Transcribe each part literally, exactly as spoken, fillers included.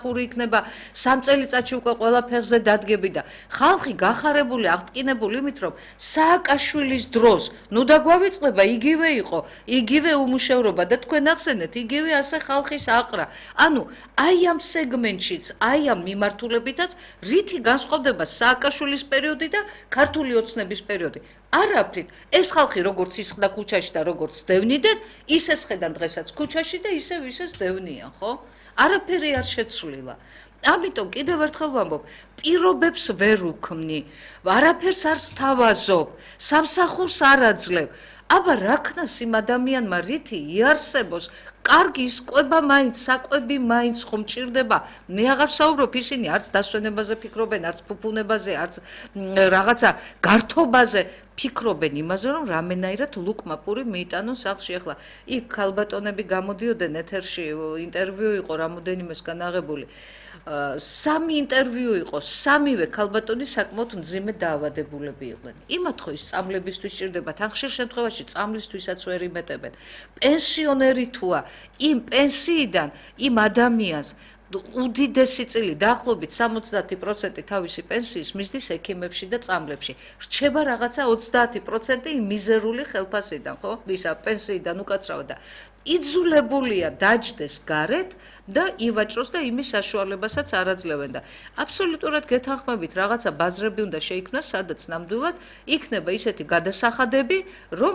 ხური იქნება სამ წელიწადში უკვე ყველა ფეხზე დადგები და ხალხი გახარებული აღტკინებული იმით რომ სააკაშვილის დროს ნუ დაგვავიწყდება იგივე იყო იგივე უმუშევრობა და თქვენ ახსენეთ იგივე ასე ხალხის აყრა ანუ აი ამ სეგმენტშიც აი ამ მიმართულებითაც რითი განსხვავდება სააკაშვილის პერიოდი და ქართული ოცნების პერიოდი არაფრით ეს ხალხი როგორც ისხდა ქუჩაში და როგორც დევნიდეთ ისე სხედან დღესაც ქუჩაში და ისევ ისე დევნიან ხო არაფერი არ შეცვლილა. ამიტომ კიდევ ერთხელ ვამბობ, პირობებს ვერ უქმნი, არაფერს არ სთავაზობ, სამსახურს არ აძლევ. აბა რა ქნას იმ ადამიანმა რითი იარსებოს, კარგი ისკვება მაინც, საკვები მაინც ხომ ჭირდება. მე აღარ საუბრობ ისინი არც დასვენებაზე ფიქრობენ, არც ფუფუნებაზე, არც რაღაცა გართობაზე. ფიქრობენ იმაზე, რომ რამენაირად ლუკმა პური მიიტანონ სახლში. ახლა იქ ქალბატონები გამოდიოდნენ ეთერში, ინტერვიუ იყო რამოდენიმესგან აღებული. სამი ინტერვიუ იყო, სამივე ქალბატონი საკმაოდ მძიმე დაავადებულები იყვნენ. იმათ ხო ის წამლებისთვის ჭირდებათ, ან ხშირ შემთხვევაში წამლისთვისაც ვერ იმეტებენ. პენსიონერი თუა, იმ პენსიიდან იმ ადამიანს უდიდესი წილი დაახლოებით სამოცდაათი პროცენტი თავისი პენსიის მისდის ექიმებში და წამლებში. რჩება რაღაცა ოცდაათი პროცენტი მიზერული ხელფასიდან, ხო? ისა პენსიიდან უკაცრავად და იძულებულია დაჯდეს გარეთ და ივაჭროს და იმის საშუალებასაც არ აძლევენ და აბსოლუტურად გეთანხმებით რაღაცა ბაზრები უნდა შეიქმნას, სადაც ნამდვილად იქნება ისეთი გადასახადები, რომ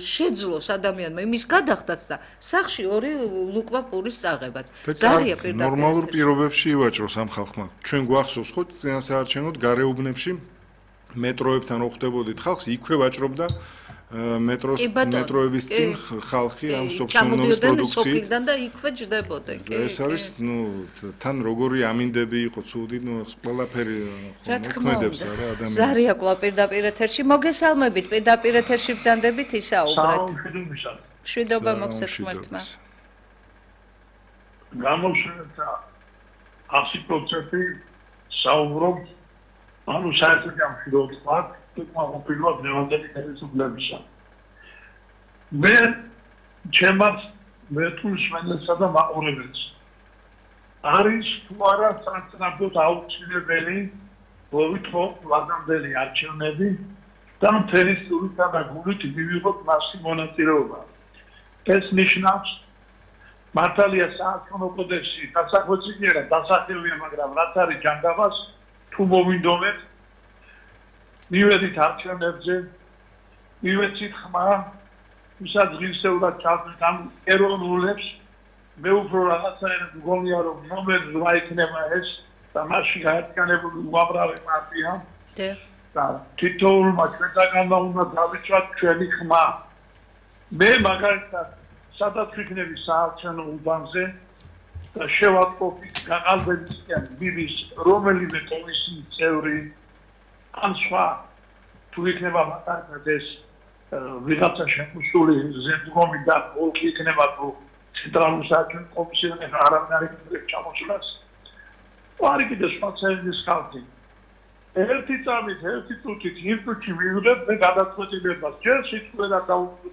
შეძლოს ადამიანმა იმის გადახდაც და სახში ორი ლუკმა პურის წაღებაც. ზარია პირდაპირ ნორმალურ პირობებში ივაჭროს ამ ხალხმა. ჩვენ გვახსოვს ხო წინასაარჩევნოდ გარეუბნებში მეტროებთან რო ხვდებოდით ხალხს, იქვე ვაჭრობდა მეტროს მეტროების წინ ხალხი ამ სოფსონობის პროდუქციით და იქვე ჯდებოდნენ. ეს არის ნუ თან როგორი ამინდები იყო ცუდი, ნუ ყველაფერი მოქმედებს არა ადამიანს. ზარია კვლავ პირდაპირ ეთერში მოგესალმებით, პირდაპირ ეთერში ბრძანდებით ისაუბრეთ. მშვიდობა მოგცეთ ღმერთმა. გამოშვება ასი პროცენტი საუბრობ ანუ საერთოდ ამ ფილოსოფიად მოყოლოდ ნევანდელი ხელისუფლებისა. მე ჩემს მეტულს მენესა და მაყურებელს. არის თუ არა სანაცნობოდ აუცილებელი მოვითხოვ ვადამდელი არჩევნები და მთელი სულითა და გულით მივიღოთ მასი მონაწილეობა. ეს ნიშნავს მართალია საარჩევნო კოდექსი დასახვეწინიერა დასახელია, მაგრამ რაც არის ჯანდაბას თუ მოვინდომეთ მივედით არჩევნებზე, მივეცით ხმა, ვისაც ღირსეულად ჩავდით ამ ეროვნულებს, მე უფრო რაღაცაერად მგონია, რომ ნომერ რვა იქნება ეს და მასში გაერთიანებული უამრავი პარტია და თითოეულმა ჩვენთაგანმა უნდა დავიცვათ ჩვენი ხმა. მე მაგალითად სადაც ვიქნები საარჩევნო უბანზე და შევატყობთ გაყალბებისკენ ბიბის რომელიმე კომისიის წევრი ან სხვა თუ იქნება მაგალითად ეს ვიღაცა შემოსული ზემდგომი და ოლქი იქნება თუ ცენტრალურ საარჩევნო კომისიაში არავინ არ იქნება ჩამოსულას. არ იქნება სხვა ცელის ხალხი. ერთი წამით, ერთი წუთით, იმ წუთში მივიღებ მე გადაწყვეტილებას. ჯერ სიტყვა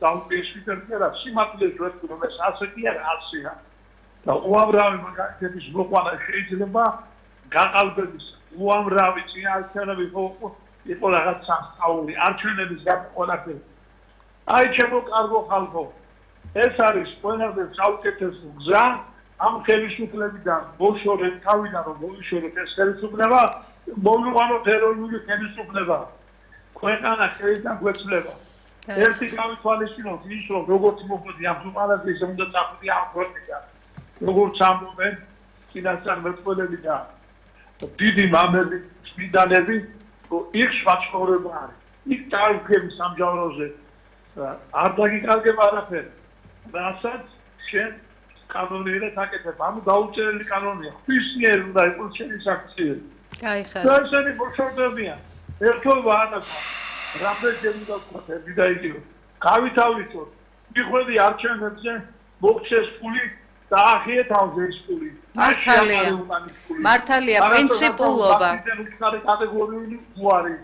დაუპირისპირდი რა სიმართლეს ვეთქვი რომ ეს ასეთი არ ასია. და უამრავი მაგალითების მოყვანა შეიძლება გაყალბების უამრავი წინაარჩევნები იყო რაღაც სასწაული არჩევნების გაყოლაფერი. აი ჩემო კარგო ხალხო, ეს არის ყველაფერს საუკეთესო გზა ამ ხელისუფლებიდან ბოშორეთ თავიდან რომ მოიშორეთ ეს ხელისუფლება მოვიყვანოთ ეროვნული ხელისუფლება. ქვეყანა ხელიდან გვეცვლება. ერთი გავითვალისწინოთ ის რომ როგორც მოხდი ამ ქვეყანაზე ისე უნდა წახვიდე ამ ქვეყნიდან. როგორც ამბობენ წინასწარმეტყველები და დიდი მამები, წმინდანები, იქ სვაცხოვრება არის. იქ დაუგები სამჯავროზე არ დაგიკარგება არაფერი. რასაც შენ კანონიერად აკეთებ, ანუ დაუწერელი კანონია. ხისნიერ უნდა იყოს შენი საქციელი. გაიხარ. და ესენი ბოშორდებიან. ერთობა ანაკა. რამდენჯერ უნდა ვქოთ და იგივე. გავითავლისოთ. მიხვედი არჩევნებზე მოგცეს ფული და ახიეთ ავზე ის ფული. მართალია. მართალია პრინციპულობა. უცხარი კატეგორიული უარი.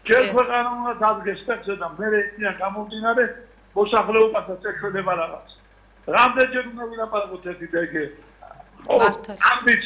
ჯერ ქვეყანა უნდა დადგეს ტექსტზე და მე ეციან გამომდინარე მოსახლეობასაც ეშოდება რაღაც. რამდენჯერ უნდა ვილაპარაკოთ ერთი და იგივე. მართალი. ამბიც